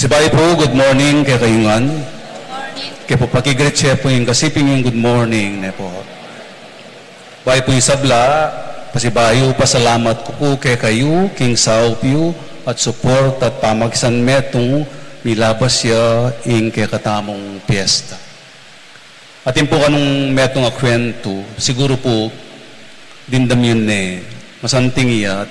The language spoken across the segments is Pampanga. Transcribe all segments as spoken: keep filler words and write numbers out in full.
Pasibayu pu, good morning kekayu ngan. Ke pu pakigreet ye pu ing kasiping yung good morning, ne pu. Bayu pu ing sabla, pasibayu pasalamat ku pu kekayu king saup yu at support at pamakisan metung milabas ya ing kekatamung piyesta. Atin pu kanung metung a kwentu, siguru pu dimdam yu ne, masanting ya at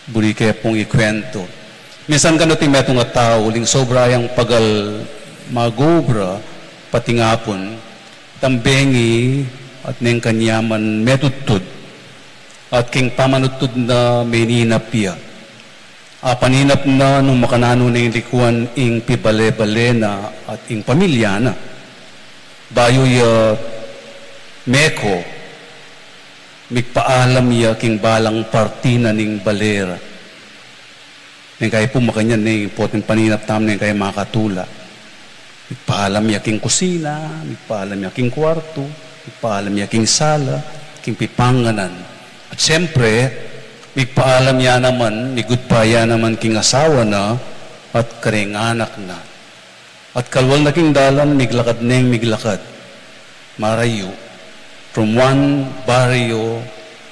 buri ke pung ikwentu. Minsan kanu ti metung a tau, uling sobra yang pagal mag-obra, patingapun, tambengi at neng kanyaman metudtud, at king pamanudtud na meninap ya. Apaninap na nung makananu neng likuan ing pibale-bale na at ing pamilya na. Bayu ya meko, migpaalam ya king balang parti na ning bale ra. Neng kayi pu makanyan ne ing poteng paninap tamu, neng kayi makatula. Migpaalam ya king kusina, migpaalam ya king kuartu, migpaalam ya king sala, king pipanganan. At siyempre, migpaalam ya naman, mig-goodbye ya naman king asawa na at kareng anak na. At kalwal na king dalan, miglakad neng miglakad. Marayu, from one barrio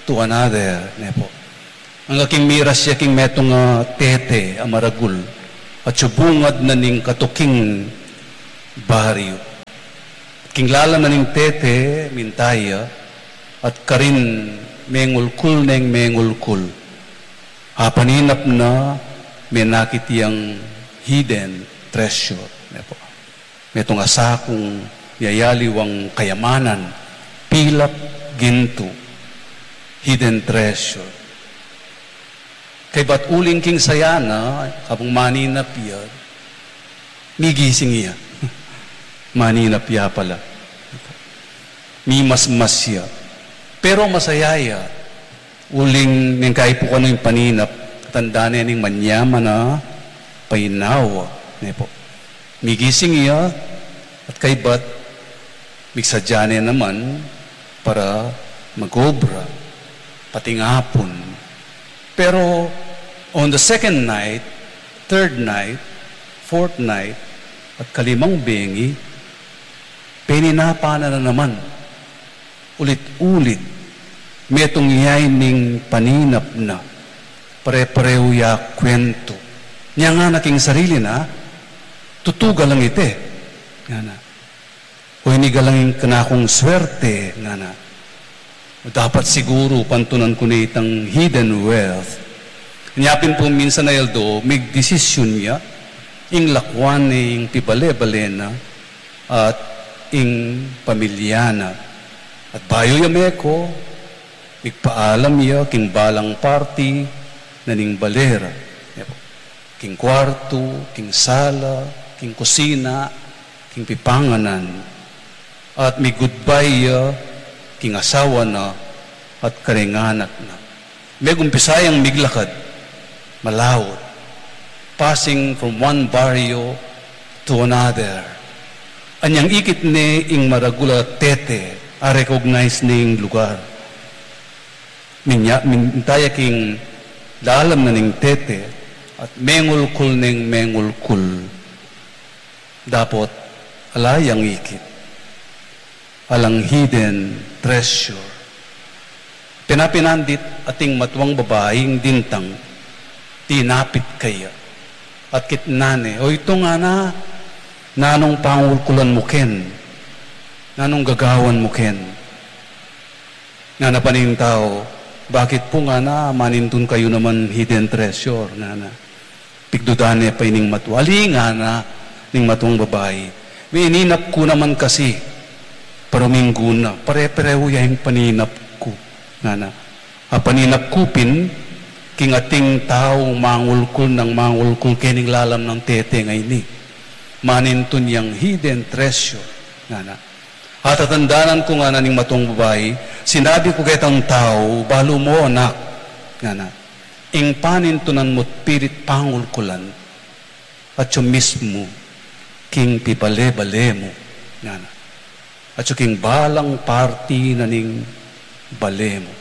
to another, ne pu. Angga king miras ya king metung a tete a maragul, at subungad na ning katuking baryo. At king lalam na ning tete, minta ya, at karin mengulkul neng mengulkul. Apaninap na, menakit yang hidden treasure, ne pu. Metung a sakung yayaliwang kayamanan, pilak, gintu, hidden treasure. Kaybat uling king saya na, kabang maninap ya, migising ya. Maninap ya pala. Mimasmas ya. Pero masaya ya. Uling neng kayi pu kanu ing paninap, tanda ne ning manyaman a painawa, ne pu. Migising ya, at kaybat, migsadya ne naman para mag-obra, patingapun. Pero on the second night, third night, fourth night, at kalimang bengi, peninapan na naman. Ulit-ulit, metung ya ining paninap na, pare-parehu ya kwentu. Nya ngana king sarili na, tutu galang iti, ngana. O ini galang ing kanakung swerte, ngana. Dapat siguru pantunan ku ne itang hidden wealth. Nya pin pu minsan a aldo, migdesisyun ya, ing lakuan ne ing pibale-bale na, at ing pamilya na. At bayu ya meko, migpaalam ya king balang parti na ning bale ra. King kuartu, king sala, king kusina, king pipanganan. At mig-goodbye ya king asawa na at kareng anak na. Megumpisa yang miglakad, malaut, passing from one barrio to another. Anyang ikit ne ing maragul a tete, a-recognize ne ing lugar. Minya-, minta ya king lalam na ning tete, at mengulkul neng mengulkul. Dapot ala yang ikit, alang hidden treasure. Pinapinan dit ating matuang babaing dintang, dinapit kaya. At kitnan ne, "O itung," ngana, "nanung pangulkulan mu ken? Nanung gagawan mu ken?" Ngana pa ning tau, "Bakit pu," ngana, "manintun kayu naman hidden treasure?" ngana. Pigdudan ne pa ining matua. "Ali," ngana ning matuang babai, "mininap ku naman kasi para minggu na, pare-parehu ya ing paninap ku," ngana. "Apaninap ku pin king ating tau mangulkul nang mangulkul kening lalam nang tete ngeni. Manintun yang hidden treasure," ngana. "Atatandanan ku," ngana ning matuang babai, "sinabi ku ketang tau, 'Balu mu, anak,'" ngana, "ing panintunan mu't pilit pangulkulan, atyu mismu king pibale-bale mu," ngana. "Atyu king balang parti na ning bale mu.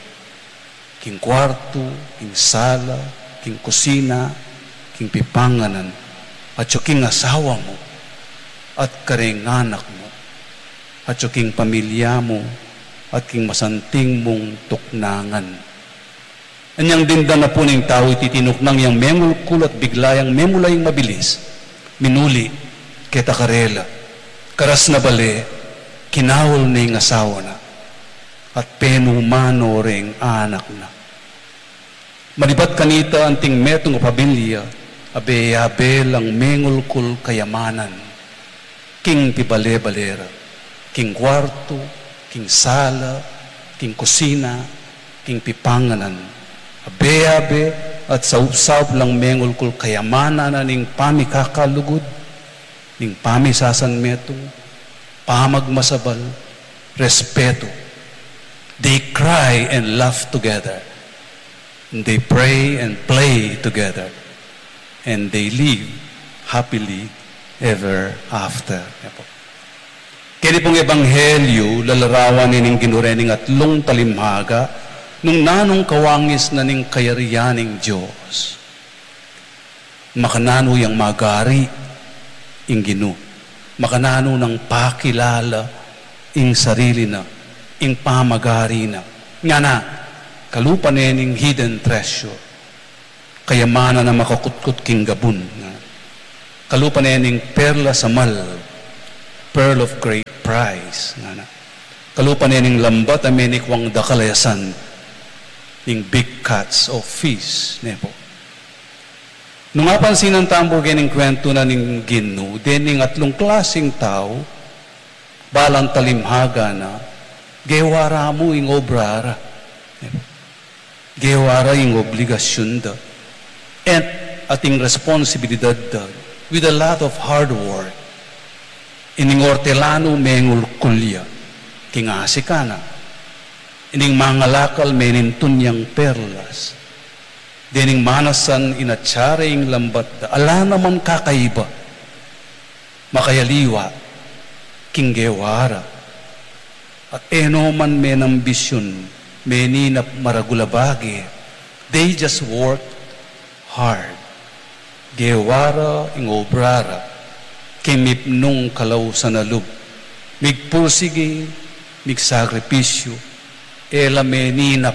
King kuartu, king sala, king kusina, king pipanganan. At king asawa mu, at kareng anak mu, at king pamilya mu, at king masanting mung tuknangan. Anyang dindan na pu ning tau iti tinuknang yang mengulkul at bigla yang memula ing mabilis, minuli keta karela. Karas na bale, kinaul ne ing asawa na, at penumano reng anak na. Malibat kanita anting metung a pamilya, abe-abe lang mengulkul kayamanan. King pibale-bale ra, king kwartu, king sala, king kusina, king pipanganan. Abe-abe at saup-saup lang mengulkul kayamanan na ning pamikakalugud, ning pamisasanmetung, pamagmasabal, respetu. They cry and laugh together. They pray and play together, and they live happily ever after. Keni pung ebanghelyu, lalarawan ne ning Ginu rening atlung talimhaga, nung nanung kawangis na ning kayarian ning Dios. Makananu yang magari ing Ginu. Makananu nang pakilala ing sarili na, ing pamagari na. Ngana, kalupa ne ning hidden treasure. Kayamanan a makakutkut king gabun. Ngana. Kalupa ne ning perlas a mal, pearl of great price. Ngana. Kalupa ne ning lambat a menikwang dakal a yasan, ning big catch of fish, ne pu. Nung apansinan tamu pu keni ing kwentu na ning Ginu, dening atlung klasing tau, balang talimhaga na, gewa ra mu ing obra ra. Gewa ra ing obligasyun da. At, at ing responsibilidad da. With a lot of hard work. Ining ortelanu mengulkul ya. King asika na. Ining mangalakal menintun yang perlas. Dening manasan inatsa ra ing lambat da, ala naman kakaiba, makayaliwa, king gewa ra. At e no man menambisyun, meninap maragul a bage, they just work hard. Gewa ra ing obra ra, king mipnung kalausan a lub, migpursigi, migsakripisyu, e la meninap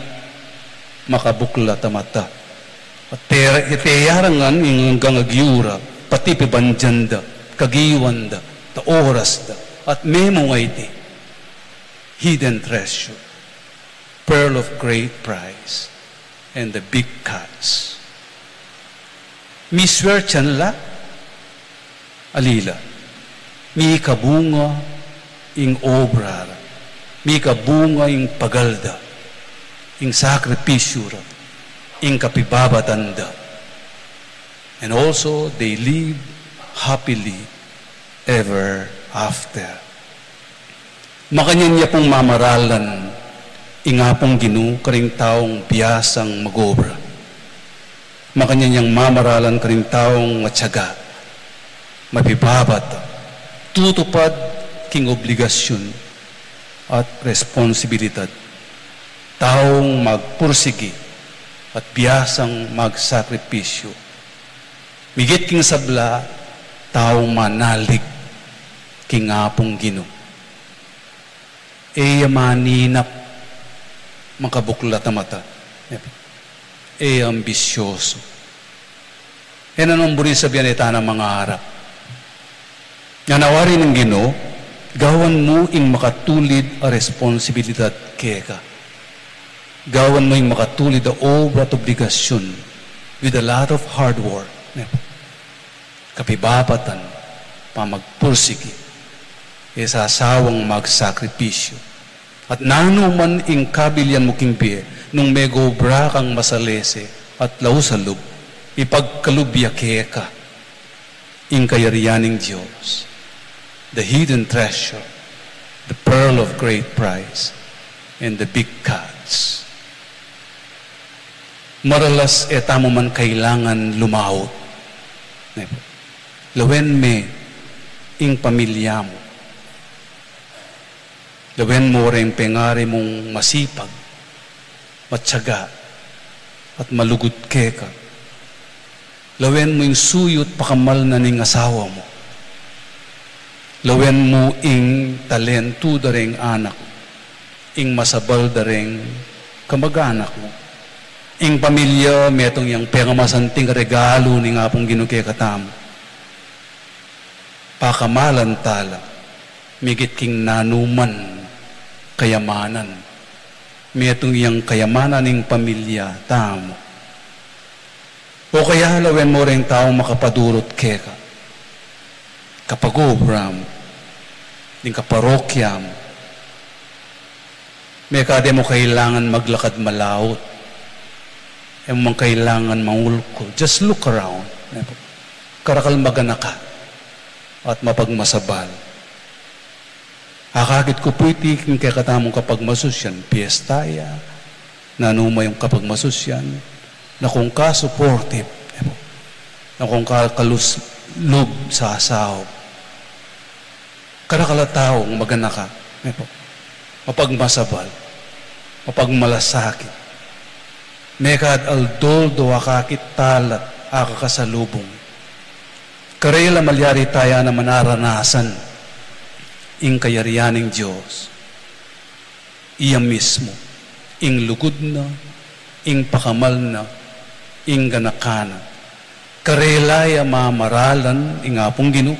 makabuklat a mata. At te-, teyarangan ing anggang agyu ra, pati pibandian da, kagiwan da, ta oras da, at memunga iti hidden treasure, pearl of great price, and the big catch. Miswertian la, alila, mikabunga ing obra ra, mikabunga ing pagal da, ing sakripisyu ra, ing kapibabatan da. And also, they live happily ever after. Makanyan ya pung mamaralan ing Apung Ginu karing taung biasang mag-obra. Makanyan yang mamaralan karing taung matiaga, mapibabat, tutupad king obligasyun at responsibilidad. Taung magpursigi at biasang magsakripisyu. Migit king sabla, taung manalig king Apung Ginu. E ya maninap makabuklat a mata. E ya ambisyosu. E na nung buri sabian e tana mangarap. Ngana wari ning Ginu, gawan mu ing makatulid a responsibilidad keka. Gawan mu ing makatulid a obra at obligasyun with a lot of hard work. Kapibabatan, pamagpursigi, e sasawang magsakripisyu. At nanu man ing kabilian mu king bie, nung megobra kang masalese at lausalub, ipagkalub ya keka ing kayarian ning Dios, the hidden treasure, the pearl of great price, and the big catch. Maralas e tamu man kailangan lumaut. Ne pu. Lawen me ing pamilya mu. Lawen mu reng pengari mung masipag, matiaga, at malugud keka. Lawen mu ing suyu't pakamal na ning asawa mu. Lawen mu ing talentu da reng anak, ing masabal da reng kamag-anak mu. Ing pamilya, metung yang pekamasanting regalu ning Apung Ginu kekatamu. Pakamalan tala, migit king nanuman kayamanan. Metung yang kayamanan ning pamilya tamu. O kaya lawen mu reng taung makapadurut keka, kapag-obra mu, ding kaparokya mu. Mekad e mu kailangan maglakad malaut. E mu man kailangan mangulkul. Just look around. Karakal maganaka at mapagmasabal. Akakit ku pu iti king kekatamung kapagmasusyan, piyesta ya, nanu man yung kapagmasusyan, na kung ka-supportive, na kung ka-, kaluslub sa asawa. Karakal a taung maganaka, mapagmasabal, mapagmalasakit. Mekad aldo-aldo akakit tala at akakasalubung. Karela malyari taya na manaranasan ing kayarian ning Dios. Iya mismu, ing lugud na, ing pakamal na, ing ganaka na. Karela ya mamaralan ing Apung Ginu,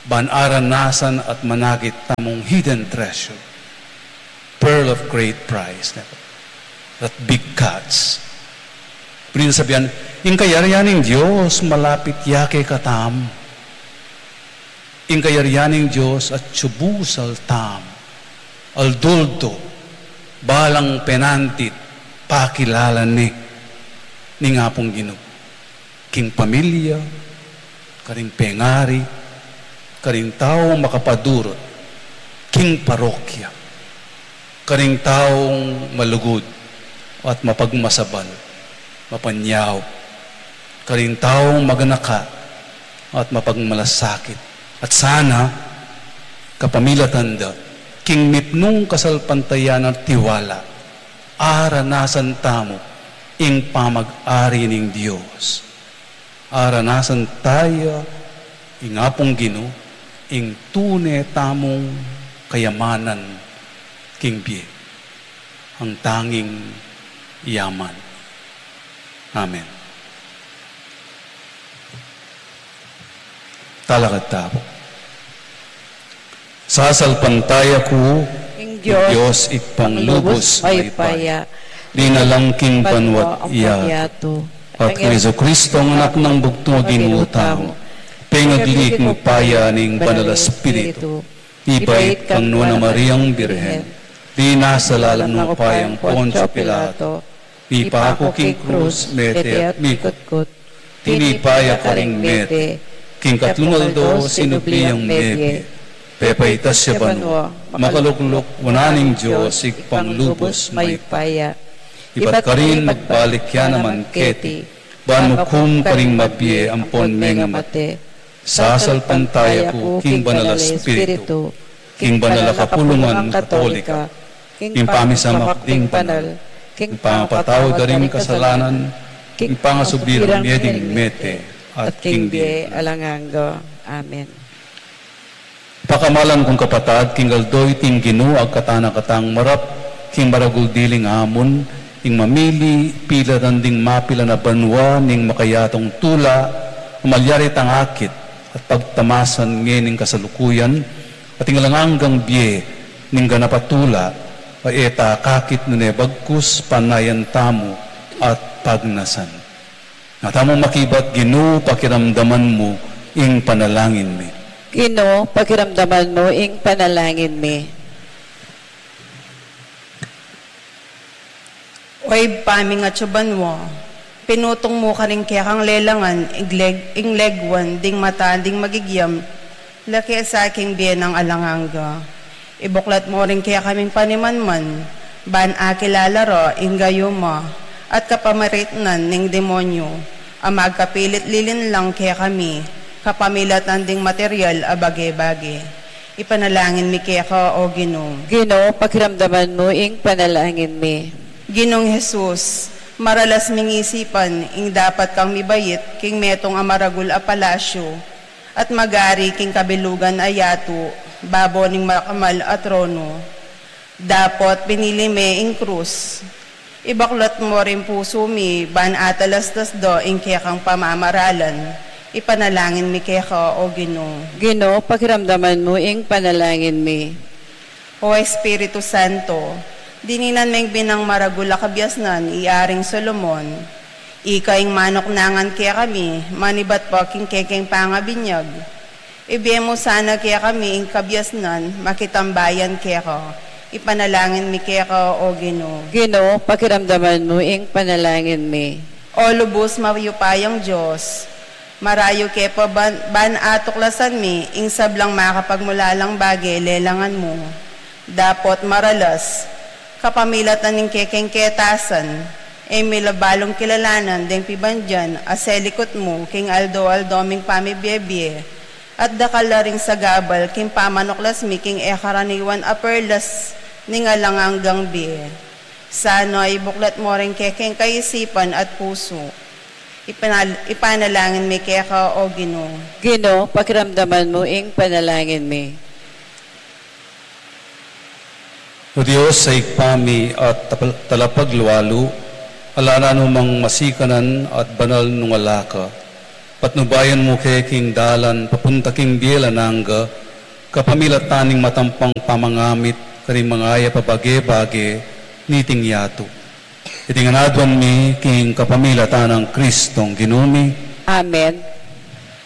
ban aranasan at manakit tamung hidden treasure, pearl of great price, that big catch. Pwede sabihan, ing kayarian ning Dios malapit ya kekatamu. Ing kayarian ning Dios atyu busal tamu, aldo-aldo, balang penantit, pakilala ne ning Apung Ginu. King pamilya, karing pengari, karing taung makapadurut, king parokya, karing taung malugud at mapagmasabal, mapanyaup, karing taung maganaka at mapagmalasakit. At sana, kapamilatan da, king mipnung kasalpantayanan at tiwala, aranasan tamu ing pamag-ari ning Dios. Aranasan taya ing Apung Ginu, ing tune tamung kayamanan king bie, ang tanging yaman. Amen. Talakad tamu. Sasalpantaya ku ing Dios, Ibpang lubus mayupaya, linalang king banwa't yatu, at kang Jesucristo, anak nang bugtung a Ginu tamu, pengagli king upaya ning Banal a Espiritu, ibait kang Nuan a Mariang Birhen, linasa lalam nang upayang Poncio Pilato, mipaku king krus, mete at mikutkut. Tinipa ya karing mete, king katlung aldo sinubli yang mebie, pepaitas ya banua, makalukluk wanan ning Dios Ibpang lubus mayupaya. Ibat karin magbalik ya naman keti, ban mukum karing mabie ampon mengamate. Sasalpantaya ku king Banal a Espiritu, king banal a kapulungan Katolika, king pamisamak ding banal, king pangapatawad da ring kasalanan, king pangasubirang mie ding mete, at king bie alang angga. Amen. Pakamalan kung kapatad, king aldo iting Ginu, agkatan na katang marap king maragul diling amun, ing mamili pilatan ding mapilan a banua ning makayatung tula, malyari tang akit at pagtamasan ngening kasalukuyan, at ing alang anggang bie ning ganap a tula, a e ta akakit nune bagkus panayan tamu at pagnasan. Nga tamung makibat, Ginu, pakiramdaman mu ing panalangin mi. Ginu, pakiramdaman mu ing panalangin mi. O Ibpa ming atsu banua, pinutung mu karing kekang lelangan, igleg-, ing legwan ding mata ding magigiam, lake sa king bie nang alang angga. Ibuklat mu ring kekaming panimanman, ban akilala ra ing gayuma at kapamaritnan ning demonyu, a magkapilit lilinlang kekami, kapamilatan ding material a bage-bage. Ipanalangin mi keka, O Ginu. Ginu, pakiramdaman mu ing panalangin mi. Ginung Jesus, Maralas ming isipan ing dapat kang mibait king metung a maragul a palasyu, at magari king kabilugan a yatu, babo ning makamal a trono. Dapot pinili me ing krus. Ibaklat mu ring pusu mi, ban atalastas do ing kekang pamamaralan. Ipanalangin mi keka, O Ginu. Ginu, pakiramdaman mu ing panalangin mi. O Espiritu Santo, dininan meng binang maragul a kabiasnan i Aring Solomon. Ika ing manuknangan kekami, manibat pa king kekeng pangabinyag. Ibie mu sana kekami ing kabiasnan, makitambayan keka. Ipanalangin mi keka, O Ginu. Ginu, pakiramdaman mu ing panalangin mi. O lubus mayupayang Dios, marayu ke pa ban, ban atuklasan mi ing sablang makapagmulalang bage lelangan mu. Dapot maralas, kapamilatan ning kekeng ketasan, e mi la balung kilalanan deng pibandian a selikut mu king aldo-aldo ming pamibiebie, at dakal la ring sagabal king pamanuklas mi king e karaniwan a perlas ning alang anggang bie. Sana ibuklat mu ring kekeng kaisipan at pusu. Ipanal-, ipanalangin mi keka, O Ginu. Ginu, pakiramdaman mu ing panalangin mi. O Dios, a Ibpa mi at tapal-, talapaglualu, ala na nung masikanan at banal nung ala ka. Patnubayan mu ke king dalan papunta king bie alang angga, kapamilatan ning matampang pamangamit karing mangayap a bage-bage niting yatu. Iti ngan aduan mi king kapamilatan nang Kristong Ginu mi. Amen.